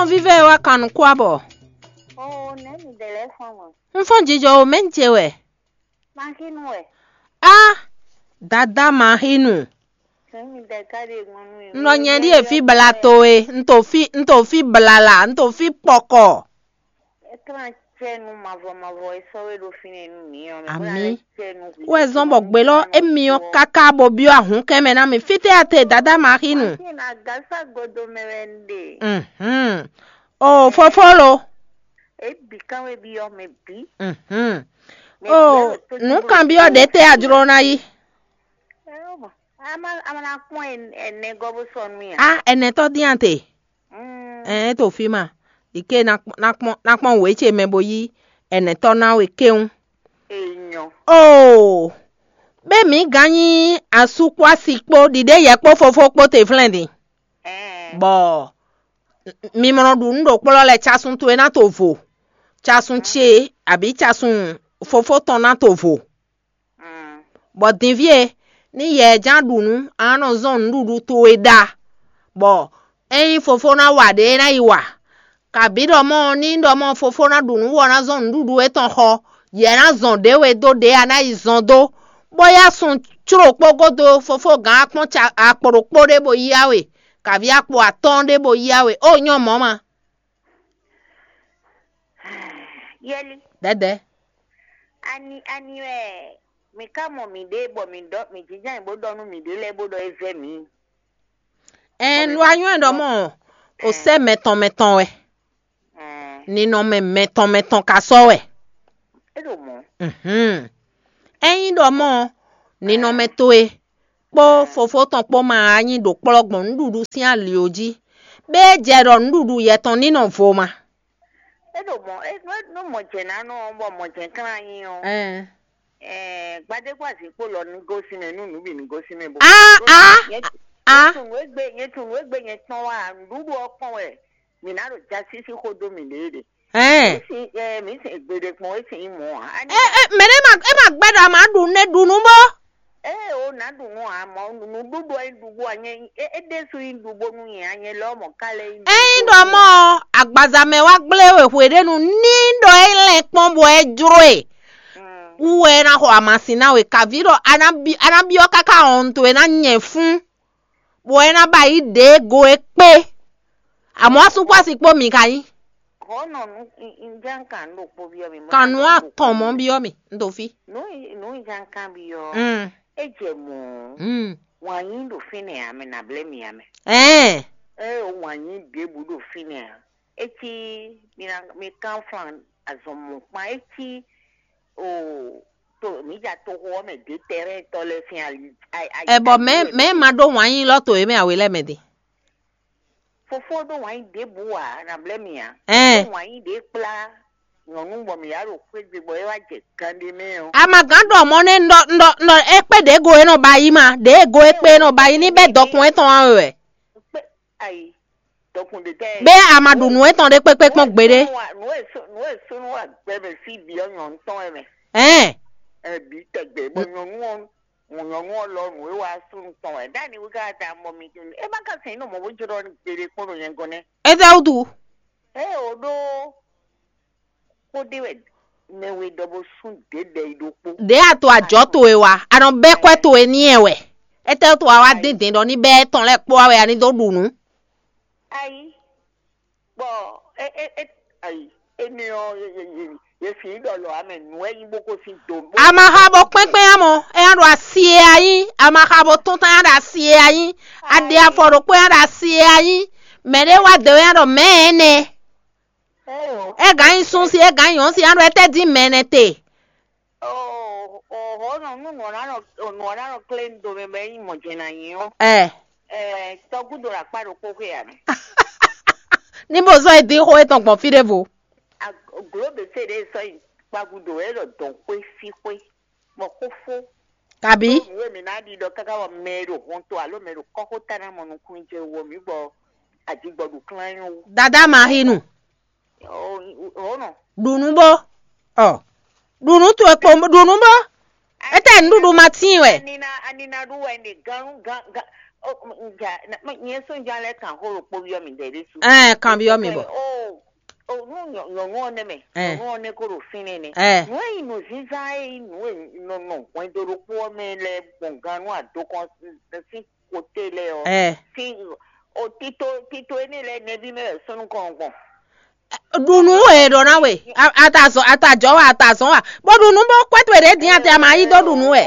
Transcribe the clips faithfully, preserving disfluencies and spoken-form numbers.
Vívɛ wá kan nukún abɔ. Oo, nɛ̌ mi ɖe lɛ́ɛ fɔ́n mɔ̌? Un fɔ́n jijɔ o, mɛ̌ un ce wɛ? Maxinu wɛ. Á, dadá Maxinu. Nɛ̌ mi ɖe ká ɖe gbɔn nú mi? Un nɔ nyɛ ɖíe fí bla towe, un to fí un to fí blala, un to fí kpɔkɔ. É tlán cɛ́nu mavɔ mavɔ e sɔ́ we ɖó fínɛ́ nú mǐ ɔ́ mɛ. Amǐ. Wɛ zɔ́n bɔ gbe lɔ émi ɔ́ káká bó byɔ́ ahǔnkɛ́n mɛ ná mì. Fítɛ́ a te dadá Maxinu? Máṣín agasa godo mɛ wɛ un ɖe. Mhm. O fofó lo. É bǐ kán wé byɔ́ mɛ bǐ. Mhm. O nǔ kanbyɔ́ ɖě tɛ́ a jló ná yí? Ama ama na kpɔn ɛnɛ gɔ́ bó sɔ nú ya. A ɛnɛtɔ́ dín a te? Ɛn é to fí ma. Ɖi ké ná kpɔn ná kpɔn wě ce mɛ bó yí ɛnɛtɔ́ ná we kéwún. Enyɔ. Oo, bɛ mǐ gán nyí asú kpó asi kpó ɖiɖe yɛ kpó fofó kpó te flɛ́n din. Ɛn. Bɔ mi mɔ nɔ ɖu nǔ ɖo kplɔ́ lɛ casun towe ná to vo, casun ce abǐ casun fofó tɔn ná to vo. Bɔ dinví e, ní yɛ ɛ ján ɖu nǔ, a nɔ zɔ́n nǔɖuɖu towe ɖa, bɔ ényí fofó ná wa ɖě é ná yi wa. Kabǐ ɖɔ mɔ̌ ɔ́, ní ɖɔ mɔ̌ fofó ná ɖu nǔ wɔ ná zɔ́n nǔɖuɖu étɔn xɔ, yɛ ná zɔn ɖě we dó ɖě a ná yi zɔn dó, bó yá sun cló kpó gúdo fofó gǎn akpɔ́n akpo ɖokpó ɖé bó yá we, kabǐ akpo atɔ́ɔ́n ɖé bó yá we, ó nyɔ́ mɔ̌ ma. Yɛli. Dɛdɛ. Ani ani wɛ mi ka mɔ miɖée bɔ mi ɖɔ mi jínjɔ́n bó ɖɔ nú miɖée lɛ́ɛ bó ɖɔ é vɛ́ mǐ? Ɛn lu anyɔ́ ɖɔ mɔ o sɛ́ mɛtɔn mɛtɔn wɛ. Ninɔmɛ mɛtɔn mɛtɔn ka sɔ́ wɛ. É ɖo mɔ̌. Mhm. Ényí ɖɔ mɔ ninɔmɛ towe kpó fofó tɔn kpó ma wá nyí ɖo kplɔ́ gbɔn nǔɖuɖu sín ali ɔ́ jí, bɛ́ é jɛ ɖɔ nǔɖuɖu yɛtɔn ní nɔ vo ma. É ɖo mɔ̌ é nú mɔ̌ jɛ ná nɔ ɔ́, bɔ mɔ̌ jɛ klán nyi ɔ́, Ɛn. Gbadégbá zǐn kpó lɔ ní gosín mɛ nú nǔ bǐ ní gosín mɛ bó. Ah, ah, ah. Nyɛ tunwun égbé nyɛ tunwun égbé nyɛ tɔn wá nǔɖuɖu ɔ́ kpɔn wɛ mǐ ná ɖo jasísí xó dó mǐɖée ɖe. Ɛn. Mǐ sin ɛ mǐ sin gbeɖe kpɔn é sin nyí mɔ̌ ǎ. Ɛ ɛ mɛɖé ma é ma gbɛ́ ɖɔ a ma ɖu nɛ ɖu nú bó. Ée o nǎ ɖu nú ǎ mɔ̌ nǔɖuɖu ɔ́ nyí ɖuɖu ǎ nyɛ é é ɖésú nyí ɖu bónú nyɛ ǎ nyɛ lɔmɔ̌ ka lɛ́ nyí. Ényí ɖɔ mɔ̌ ɔ́, agbaza mɛ wá gblé we hweɖénu ní ɖɔ é lɛn kpɔ́n bɔ é jló e. Wú wɛ é ná xɔ amasin ná we kaví ɖɔ a ná bi a ná byɔ́ káká hɔn towe ná nyɛ fún, bɔ é ná ba yi ɖě go é kpé. Amɔ̌ asúkpási kpó mǐ ka nyí. Hɔ̌ nɔ nú nján kan ɖokpó byɔ́ mi. Kan nǔ atɔn mɔ̌ byɔ́ mì, un ɖo fí. Nǔ nǔ nján kan byɔ́. Mm. É jɛ mɔ̌. Mm. Wǎn yí ɖo fínɛ́ ǎ mɛ nǎ blɛ́ mi ǎ mɛ. Ɛɛ. Ée wǎn yí ɖěbǔ ɖo fínɛ́ ǎ. É cí mi ná mi kán flan azɔn mɔ̌kpán é cí o to mǐ ja toxo ɔ́ mɛ ɖě tɛrɛ́ntɔ́ lɛ́ɛ sín ali. Ɛ bɔ mɛ̌ mɛ̌ ma ɖó wǎn yí lɔ́ to yě mɛ awe lɛ́ɛ mɛ din. Fofó ɖó wǎn yí ɖěbǔ ǎ nǎ blɛ́ mi ǎ. Ɛn. Ɖó wǎn yí ɖě kplá nyɔ̌nu bɔ mǐ yá ɖo xwé gbe bɔ é wá jɛ ganɖé mɛ ɔ́. A ma gǎn ɖɔ mɔ̌ nɛ́ un ɖɔ un ɖɔ un ɖɔ é kpé ɖě go e nɔ ba yí ma, ɖě go e kpé e nɔ ba yí ní bɛ́ dɔkun étɔn ǎ wɛ. Kpé ayi dɔkun ɖě tɛ́. Bɛ́ a ma ɖu nǔ étɔn ɖé kpékpé kpɔ́n gbeɖé. Nǔ e sú nǔ e súnnu wa gbɛ mɛ fí bǐ ɔ́ nyɔ̌nu tɔn wɛ mɛ. Ɛn. Ɛ bǐ tɛgbɛ bɔ nyɔ̌nu ɔ́ nyɔ̌nu ɔ́ lɔ nǔ e wa súnnu tɔn wɛ. Ɖ'ani wú ká da mɔ mi tún. É má ka sɛn nɔ mɔ bó jlɔ́ gbeɖé kpɔ́n ɖo nyɛ gɔ́n nɛ́. Étɛ́wútu? Ée o ɖó kpódé wɛ mɛ we ɖɔ bó sún ɖěɖɛ yi ɖokpó. Ɖě a to ajɔ̌ towe wa, a nɔ bɛ́ kwɛ́ towe n'i wɛ. Étɛ́wútu a wá dín dǐn ɖɔ ní bɛ́ étɔn lɛ́ɛ kpó wá wɛ a ní dó ɖu nǔ? Ayi, bɔ é é é ayi, énɛ́ ɔ́, yě fi ɖɔ lɔ amɛ nǔ wɛ nyí bó ko sín do. A ma xa bó kpɛ́nkpɛ́n ǎ mɔ, é ná ɖo asi e a nyí, a ma xa bó tún tán ná ɖo asi e a nyí, a ɖe afɔ ɖokpó ná ɖo asi e a nyí, mɛɖé wá dǒ é ná ɖɔ mɛ̌ ɛnɛ. É gǎn nyi súnsi, é gǎn nyi nyɔ̌nsi, á ɖo étɛ́ dín mɛ nɛ́ te? Hɔ̌ nɔ nú nǔ ɔ́ ná nɔ nǔ ɔ́ ná nɔ klé un do mɛ bɔ é nyí mɔ̌ jɛ́n ná nyí ɔ́. Ɛ. Tɔgúdo ɖo akpá ɖokpó xwé ǎ mɛ. Ní bó zɔ́n é dín xó étɔn gbɔn fí ɖěvo. Glǒbesé ɖě sɔ́ nyi kpá gúdo é ɖɔ dɔn xwé fí xwé bɔ xó fó. Kabí? Nǔ e mǐ ná ɖi ɖɔ káká bɔ mɛ e ɖo hɔn to alo mɛ e ɖo kɔ́xota ná mɔ nukúnnú jɛ wɔ mǐ gbɔ ajigbɔɖu klán nyɔ wú. Dadá Marinu. Ɔ́ nɔ. Ɖu nǔ bó. Ɔ. Ɖu nǔ towe kpo ɖu nǔ bó. Étɛ́ nǔɖuɖu ma tíin wɛ? Anina anina ɖu wɛ ne gan gan gan. Nyɛ sɔ́ ja lɛ́ kan xó ɖokpó byɔ́ mi ɖɛ ɖésú. Ɛɛ, kan byɔ́ mi bɔ. O o nú nyɔ̌- nyɔ̌nu ɔ́ nɛ́ mɛ, Ɛɛ. Nyɔ̌nu ɔ́ nɛ́ kó ɖo fínɛ́ nɛ́. Ɛɛ. Nǔ e nyí nǔzínzán e nyí nǔ e nɔ nɔ hwɛndo ɖokpó ɔ́ mɛ lɛ́ɛ gbɔn gannú adokɔn sín kote lɛ́ɛ ɔ́, Ɛɛ. Sín o tito tito énɛ́ lɛ́ɛ nɛbí mɛ wɛ súnnu kɔn gbɔn. Ɖu nǔ wɛ è ɖɔ ná we. A- Atazɔn atajɔ wa atazɔn wa. Bó ɖu nǔ bó kwɛ́ towe ɖě dín ate ama yí dó ɖu nǔ wɛ.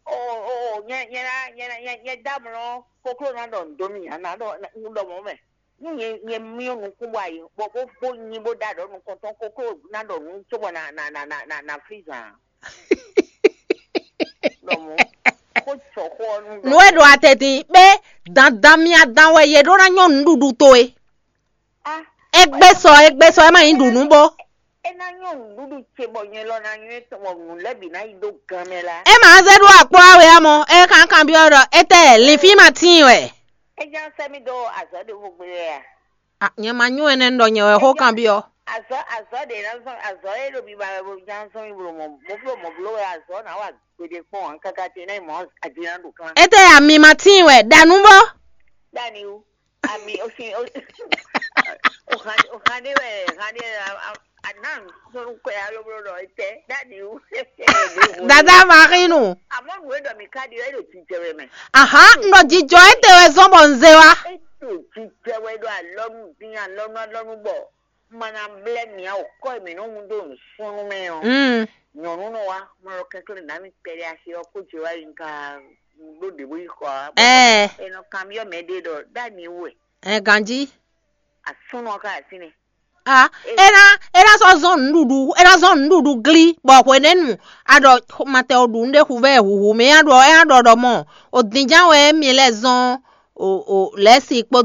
O o o nyɛ nyɛ na nyɛ na nyɛ nyɛ dá mlɔ koklo ná ɖɔ nǔ dó mì ǎ ná ɖɔ nú ɖɔ mɔ̌ mɛ. Nú nyɛ nyɛ myɔ nukún bɔ ayi bɔ bó bó nyi bó ɖa ɖɔ nukɔntɔn koklo ná ɖɔ nǔ cóbɔ na na na na na na flí zan. Ɖɔ mɔ̌ kó tsɔ xó ɔ́ nú Nǔ e ɖo ate dín pé dandan mia dan wɛ yě ɖó ná nyɔ́ nǔɖuɖu towe. Ah, Égbé sɔ égbé sɔ é má nyí ɖu nǔ bó. É ná nyɔ́ nǔɖuɖu ce bɔ nyɛ lɔ ná nyɔ́ tɔn bɔ nǔ lɛ́ bǐ ná yi dó gan mɛ la. É má zé ɖó akplɔ́ we ɔ́ mɔ é kankan byɔ́ ɖɔ étɛ́ linfín ma tíin wɛ. É já sɛ́ mì dó azɔ̌ ɖěvo gbe wɛ a? Ah, nyɛ ma nyú ɛnɛ ɖɔ nyɛ wɛ xó kan byɔ́. Azɔ̌ azɔ̌ ɖě ná zɔn azɔ̌ é ɖo biba wɛ bó já zɔn mì blo mɔ bó blo mɔ blo wɛ azɔ̌ ná wa gbeɖé kpɔn ǎ káká ce ná yi mɔ adina ɖo klán. Étɛ́ ami ma tíin wɛ ɖa nú bó. Dani wú. Ami o sin o o han o han ɖé wɛ han ɖé a a a nan sɔnu kɔ ya loblo ɖɔ etɛ dani wu. Dada Marinu. Amɔ nu e ɖɔ mi ka ɖi e ɖo jijɛ wɛ mɛ. Ahan, n ɖɔ jijɔ e te wɛ zɔn bɔ n ze wa. E ɖo jijɛ wɛ ɖo alɔnu din alɔnu alɔnu bɔ mana blɛ mia o kɔ mi nɔ mu do nsunu mɛ o. Mm. Nyɔnu nɔ wa mɔ lɔ kɛkɛ na mi kpɛɖe asi ɔ ko je wa yi nka ɖo ɖe bo yi xɔ a. Ɛɛ. Enɔ kan byɔ mɛ ɖe ɖɔ dani wu ɛ. Ɛ ganji. Asúnɔ ká àti ni. A e ná e ná sɔ́ zɔn nǔɖuɖu e ná zɔn nǔɖuɖu glí bɔ hwenɛ́nu a ɖɔ matɛ o ɖu nú ɖé hu vɛ huhu mɛ a ɖɔ ɛ a ɖɔ ɖɔ mɔ o dínján wɛ mi lɛ zɔn o o lɛ́si kpódó